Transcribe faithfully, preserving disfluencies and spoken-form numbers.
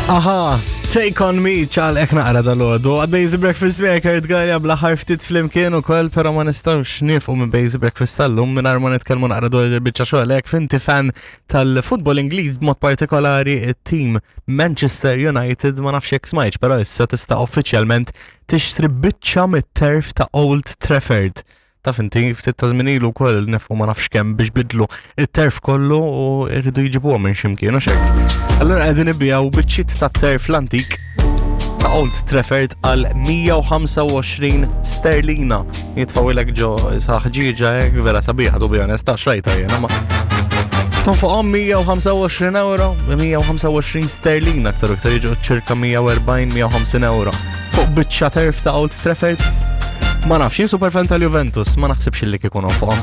Aha, Take On Me, ċaqlaq naqra dalgħodu. Għad Busy Breakfast miegħek Kurt Galea bl-aħħar ftit flimkien ukoll, però ma nistgħux nieqfu minn Busy Breakfast tal-lum mingħajr ma nitkellmu naqra dwar il-biċċa xogħol. Jekk inti fan tal-futbol Ingliż, b'mod partikolari it-team Manchester United, ma nafx jekk smajtx, però issa tista' uffiċjalment tixtri biċċa mit-turf ta' Old Trafford. Taf inti, ftit ta' żmien ilu wkoll nefqu ma nafx kemm biex bidlu it-turf kollu u rridu jġibuha minn x'imkien u hekk. Allura qegħdin ibigħu biċċiet ta' turf l-antik ta' Old Trafford għal mija u ħamsa u għoxrin sterlina. Jitfgħuhielek ġo ħġieġa hekk vera sabiħa, to be honest, ta' xrajta jiena ma. Tonfoqhom mija u ħamsa u għoxrin euro, mija u ħamsa u għoxrin sterlina aktar u iktar jiġu ċirka mija u erbgħin mija u ħamsin euro. Fuq biċċa turf ta' Old Trafford. Ma nafx, jien super fan tal-Juventus, ma naħsibx li kieku nonfoqhom.